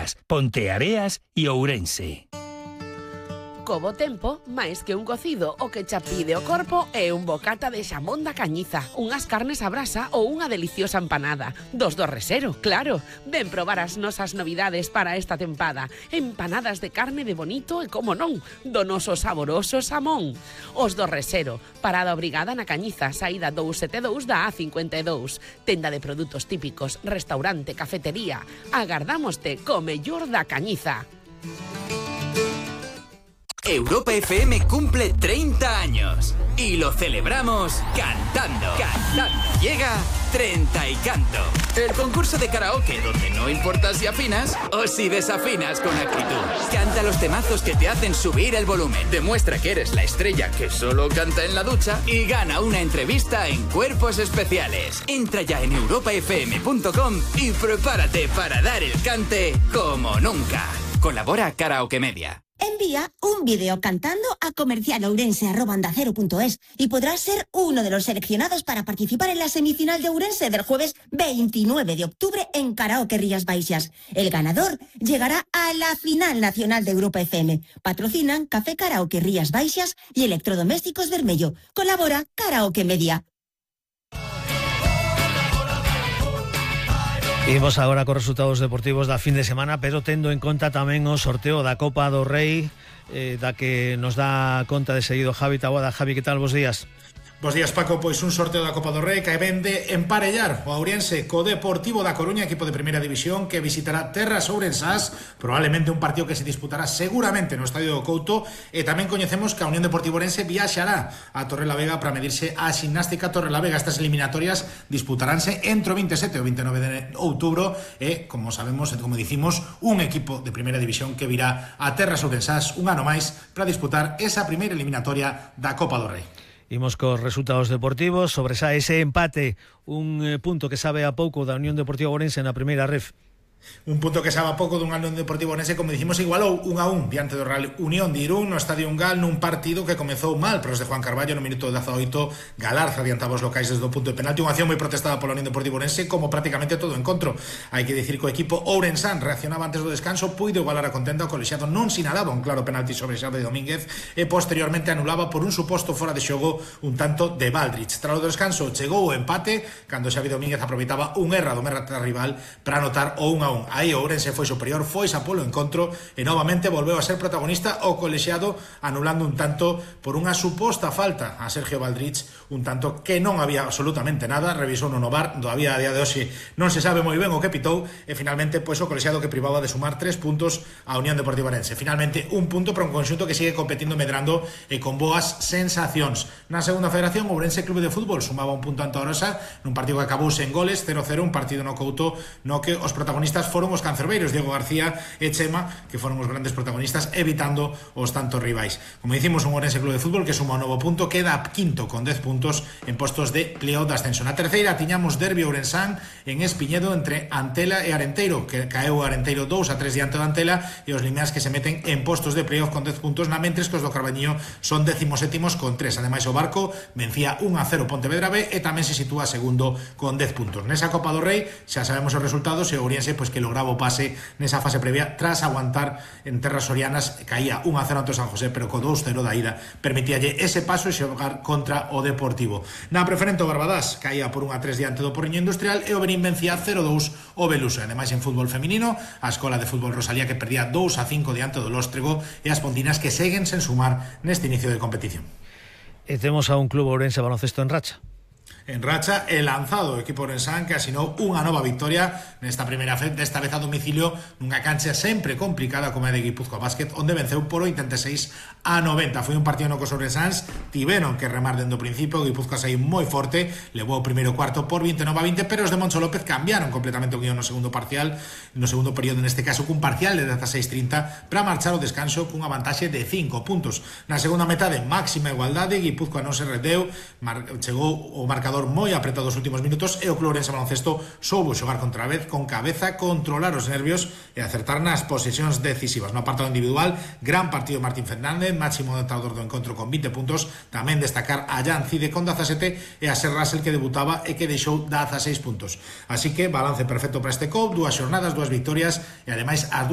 Cangas, Ponteareas e Ourense. Co bo tempo, máis que un cocido, o que cha pide o corpo é un bocata de xamón da Cañiza, unhas carnes a brasa ou unha deliciosa empanada. Dos do Resero, claro. Ven probar as nosas novidades para esta tempada. Empanadas de carne de bonito e, como non, do noso saboroso xamón. Os do Resero, parada obrigada na Cañiza, saída 272 da A52. Tenda de produtos típicos, restaurante, cafetería. Agardámoste co mellor da Cañiza. Europa FM cumple 30 años y lo celebramos cantando. Llega 30 y Canto, el concurso de karaoke donde no importa si afinas o si desafinas con actitud. Canta los temazos que te hacen subir el volumen, demuestra que eres la estrella que solo canta en la ducha y gana una entrevista en Cuerpos Especiales. Entra ya en europafm.com y prepárate para dar el cante como nunca. Colabora Karaoke Media. Envía un vídeo cantando a comercial@ondacero.es y podrás ser uno de los seleccionados para participar en la semifinal de Ourense del jueves 29 de octubre en Karaoke Rías Baixas. El ganador llegará a la final nacional de Europa FM. Patrocinan Café Karaoke Rías Baixas y Electrodomésticos Bermello. Colabora Karaoke Media. Imos agora cos resultados deportivos da fin de semana, pero tendo en conta tamén o sorteo da Copa do Rei, da que nos dá conta de seguido Javi Taboada. Javi, que tal? Bos días. Bos días, Paco. Pois un sorteo da Copa do Rei que vende emparellar o Ourense co Deportivo da Coruña, equipo de primeira división que visitará terras ourensás, probablemente un partido que se disputará seguramente no Estadio do Couto, e tamén coñecemos que a Unión Deportiva Ourense viaxará a Torrelavega para medirse a Ximnástica Torrelavega. Estas eliminatorias disputaránse entre o 27 e o 29 de outubro e, como sabemos, como dicimos, un equipo de primeira división que virá a terras ourensás un ano máis para disputar esa primeira eliminatoria da Copa do Rei. Imos cos resultados deportivos. Sobresae ese empate, un punto que sabe a pouco da Unión Deportiva Ourense na primeira ref. Un punto que sabe a pouco dun Unión Deportivo Ourense, como dicimos, igualou 1-1 diante do Real Unión de Irún no Estadio Ungal, nun partido que comezou mal para os de Juan Carballo. No minuto 18 Galarza adiantaba os locais desde o punto de penalti, unha acción moi protestada pola Unión Deportivo Ourense, como prácticamente todo o encontro. Hai que dicir que o equipo ourensán reaccionaba antes do descanso, puido igualar a contenda. O colexiado non sinalaba un claro penalti sobre Xavi Domínguez e posteriormente anulaba por un suposto fora de xogo un tanto de Baldrich. Tras o descanso chegou o empate cando Xavi Domínguez aproveitaba un erro do merata rival para anotar o 1-1. Aí o Ourense foi superior, foi xa polo encontro e novamente volveu a ser protagonista o colexiado, anulando un tanto por unha suposta falta a Sergio Baldrich, un tanto que non había absolutamente nada. Revisou no VAR, todavía a día de hoxe non se sabe moi ben o que pitou, e finalmente pois o colexiado que privaba de sumar 3 puntos a Unión Deportiva Ourense. Finalmente un punto para un conxunto que sigue competindo medrando e con boas sensacións. Na segunda federación, Ourense Clube de Fútbol sumaba un punto ante a Orosa nun partido que acabou sen goles, 0-0, un partido no Couto no que os protagonistas foron os cancerbeiros Diego García e Chema, que foron os grandes protagonistas, evitando os tantos rivais. Como dicimos, un Ourense Clube de Fútbol que suma un novo punto, queda quinto con 10 puntos en postos de playoff de ascenso. Na terceira tiñamos derbi ourensán en Espiñedo entre Antela e Arenteiro, que caeu Arenteiro 2-3 diante do Antela, e os limeas que se meten en postos de playoff con 10 puntos, na mentres que os do Carbañiño son 17º con 3. Ademais, o Barco vencía 1-0 Pontevedra B e tamén se sitúa segundo con 10 puntos. Nesa Copa do Rei xa sabemos os resultados, e o Ourense pois que lograba o pase nesa fase previa tras aguantar en terras sorianas. Caía 1-0 ante San José, pero co 2-0 da ida permitíalle ese paso e xogar contra o Deportivo. Na preferente, o Barbadás caía por 1-3 diante do Porriño Industrial e o Benín vencía 0-2 o Beluso. Ademais, en fútbol feminino, a Escola de Fútbol Rosalía que perdía 2-5 diante do Lóstrego, e as pontinas que seguen sen sumar neste inicio de competición. E temos a un club ourense baloncesto en racha. En racha, el lanzado o equipo ourensán que asinou unha nova victoria nesta primeira vez, desta vez a domicilio nunha cancha sempre complicada como a de Guipúzcoa Basket, onde venceu por 86-90. Foi un partido no que os ourensáns tiveron que remar dende o principio. Guipúzcoa saiu moi forte, levou o primeiro cuarto por 29-20, pero os de Moncho López cambiaron completamente o guión no segundo parcial, no segundo período, neste caso cun parcial de 16-30 para marchar ao descanso cunha vantaxe de 5 puntos. Na segunda metade, máxima igualdade, Guipúzcoa non se rendeu, chegou o marcador moi apretado os últimos minutos e o club ourense baloncesto soubo xogar contra vez con cabeza, controlar os nervios e acertar nas posesións decisivas. No apartado individual, gran partido Martín Fernández, máximo anotador do encontro con 20 puntos. Tamén destacar a Jan Cide con 17 e a Ser Russell, que debutaba e que deixou 16 puntos. Así que balance perfecto para este COP, 2 xornadas, 2 victorias e ademais as